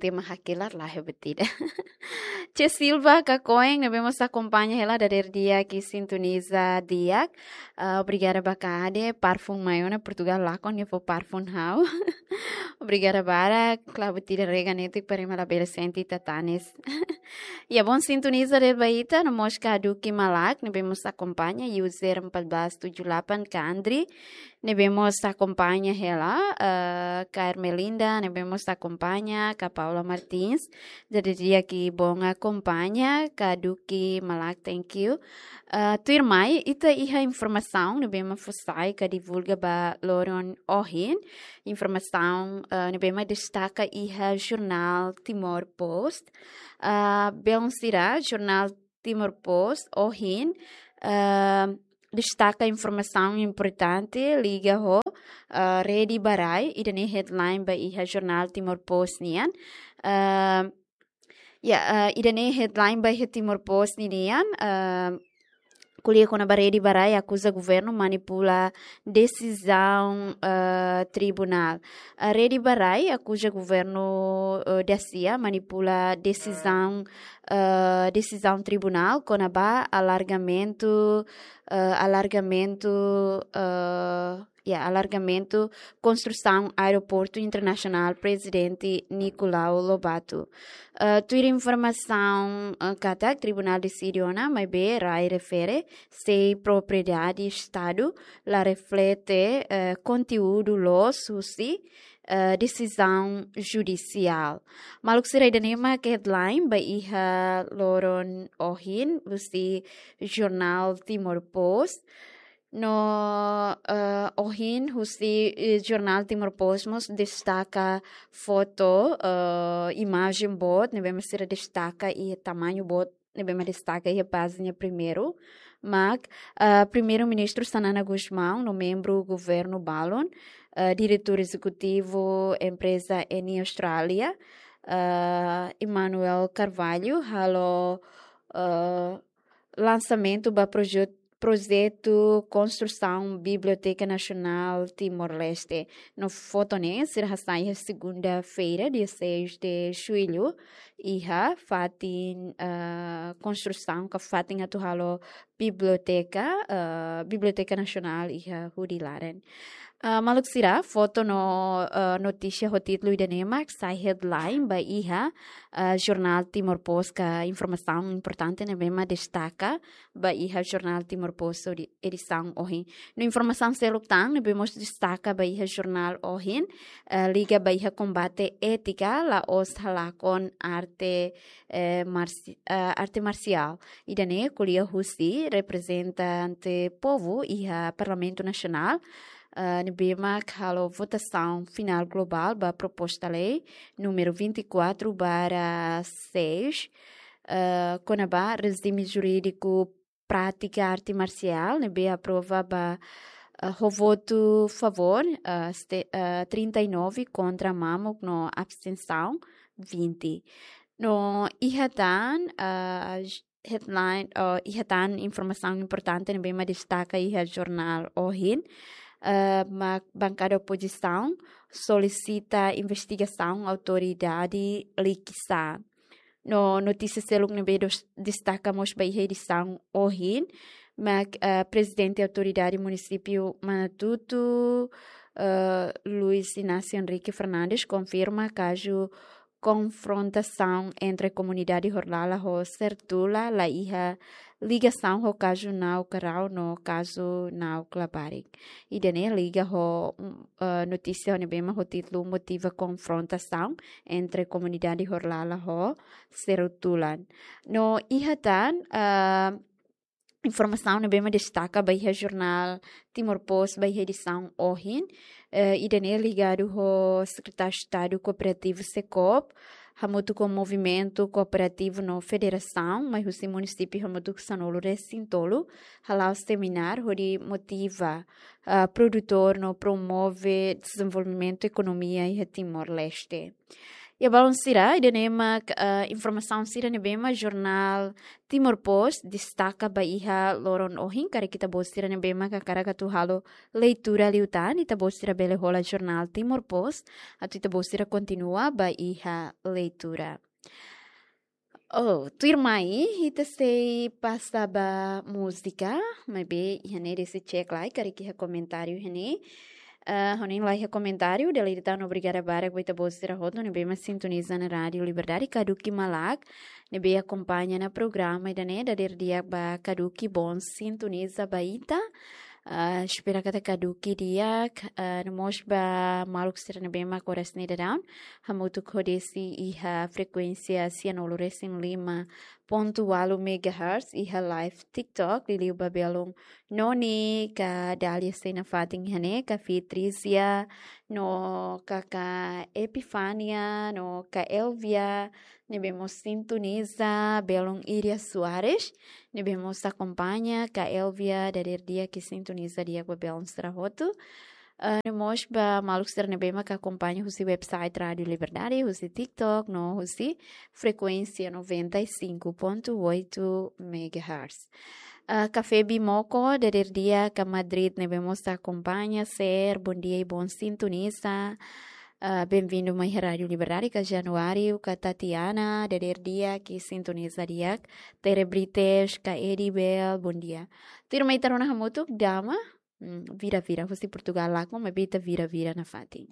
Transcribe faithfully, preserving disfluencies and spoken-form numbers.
tema hakilar la he betida. Che Silva Kakoen, ne'ebé mós akompaña hela dadeer di'ak i sintoniza di'ak. Ah, obrigada ba Kade, parfum mai ona Portugal lakon nia fó parfum ha'u. Obrigada barak, klabu tira rega netik para ema labele sente tatanis. Ya, bom sintoniza dadeer ba ita, no mós ka Duki Malak, ne'ebé mós akompaña, user empat belas tujuh delapan Kandri, ne'ebé mós akompaña hela, eh, ka Ermelinda, ne'ebé mós akompaña, ka Paula Martins, dadeer di'ak i bom akompaña, ka Duki Malak, thank you. Eh, tuirmai, ita iha informasaun, ne'ebé mak fó sai ka divulga ba loron ohin, informasaun, eh, ne'ebé mak destaka iha jornál Timor Post. Eh, belun sira, jornál Timor Post ohin, eh, destaka informasaun importante liga ho, eh, Rede ba Rai, ida-ne'e headline ba iha jornál Timor Post nian. Eh, ya, eh, ida-ne'e headline ba iha Timor Post ninian, eh, ko'alia kona-ba Rede ba Rai akuza governu manipula desizaun, eh, tribunál. Eh, Rede ba Rai akuza governu, eh, dasia manipula desizaun, eh, desizaun tribunál kona-ba alargamentu, eh, alargamentu, eh, ya, alargamentu konstrusaun Aeroportu Internasionál Prezidente Nicolau Lobato. Eh, tuir informasaun, eh, katak tribunál deside ona, maibé Rai refere, sei propriedade Estadu, la reflete, eh, konteúdu loos husi, eh, desizaun judisiál. Maluk sira, ida-ne'e mak headline ba iha loron ohin husi jornál Timor Post. No, eh, ohin husi, eh, jornál Timor Post mós destaka foto, eh, imajen boot, ne'ebé mak sira destaka i tamañu boot, ne'ebé mak destaka iha pájina primeiru. Mak, eh, Primeiru-Ministru Xanana Gusmão, no membru governu balun, eh, diretór ezekutivu empreza Eni Austrália, eh, Emmanuel Carvalho, halo, eh, lansamentu ba proje-, projetu konstrusaun Biblioteka Nasionál Timor-Leste. No foto ne'e sira hasai iha segunda-feira, dia seis de julho, iha fatin, eh, konstrusaun ka fatin atu halo biblioteka, eh, Biblioteka Nasionál iha Hudi Laren. Eh, maluk sira, foto no, eh, notísia ho títulu ida-ne'e mak sai headline ba iha, eh, jornál Timor Post ka informasaun importante ne'ebé mak destaka ba iha jornál Timor Post edi-, edisaun ohin. No informasaun seluk tan ne'ebé mós destaka ba iha jornál ohin, eh, liga ba iha kombate étika la'ós halakon arte, eh, marsi-, eh, arte marsiál. Ida-ne'e ko'alia husi reprezentante povu iha Parlamentu Nasionál, eh, ne'ebé mak halo votasaun finál globál ba proposta lei númeru vinte e quatro barra seis, eh, kona-ba rejime jurídiku prátika arte marsiál, ne'ebé aprova ba, eh, ho votu favór, eh, ste-, eh, trinta e nove kontra mamuk no abstensaun vinte. No iha tan, eh, j-, headline, eh, iha tan informasaun importante ne'ebé mak destaka iha jornál ohin, eh, mak bankada opozisaun solisita investigasaun autoridade Likisá. No notísia seluk ne'ebé dos-, destaka mós ba iha edisaun ohin, mak, eh, Prezidente Autoridade Munisípiu Manatuto, eh, Luis Inácio Henrique Fernandes, konfirma kazu konfrontasaun entre komunidade Horlala ho Sertula la iha ligasaun ho kazu Nau Karau no kazu Nau Klabarik. Ida-ne'e liga ho, mm, eh, notísia ne'ebé mak ho títulu Motiva Konfrontasaun entre Komunidade Horlala ho Sertula. No iha tan, eh, informasaun ne'ebé mak destaka ba iha jornál Timor Post ba iha edisaun ohin. Eh, ida-ne'e ligadu ho Sekretáriu Estadu Kooperativu SEKOOP, hamutuk ho Movimentu Kooperativu no Federasaun, mai husi munisípiu hamutuk sanulu-resin-tolu, hala'o semináriu hodi motiva, ah, produtór no promove dezenvolvimentu ekonomia iha Timor-Leste. Ya, balun sira, ida-ne'e mak, eh, informasaun sira ne'ebé mak jornál Timor Post destaka ba iha loron ohin, karik ita-boot sira ne'ebé mak hakarak atu halo leitura liután, ita-boot sira bele hola jornál Timor Post, atu ita-boot sira kontinua ba iha leitura. Oh, tuirmai, ita sei pasa ba múzika, maibé iha ne'e desi cek lai, karik iha komentáriu iha ne'e. Ah, hanesan la iha komentáriu, dala ida tan obrigada barak ba ita-boot sira hotu ne'ebé mak sintoniza ona Rádiu Liberdade, kaduki malak ne'ebé akompaña ona programa ida-ne'e, dadeer di'ak ba kaduki, bom sintoniza ba ita. Ah, espera katak kaduki di'ak, ah, no mós ba maluk sira ne'ebé mak oras ne'e daudaun hamutuk ho desi iha frekuénsia sianulu resin lima pontu ualu megahertz iha live TikTok, liuliu ba belun Noni, ka Dalia sei nafatin iha ne'e, ka Fitrizia, no kaka Epifania, no ka Elvia, ne'ebé mós sintoniza, belun Iria Soares, ne'ebé mós akompaña, ka Elvia, dadeer di'ak, sintoniza di'ak ba belun sira hotu. Ah, no mós ba maluk sira ne'ebé mak akompaña husi website Rádiu Liberdade, husi TikTok, no husi frekuénsia noventa e cinco ponto oito megahertz. Ah, Café Bimoko, dadeer di'ak, ka Madrid ne'ebé mós akompaña, ser, bom dia i bom sintoniza. Ah, bem-vindo mai Rádiu Liberdade, ka Januário, ka Tatiana, dadeer di'ak, sintoniza di'ak. Tere Brites, ka Edibel, bom dia. Tuirmai ita rona hamutuk, dama, hmm, vira-vira, husi Portugal lakon, maibé ita vira-vira nafatin.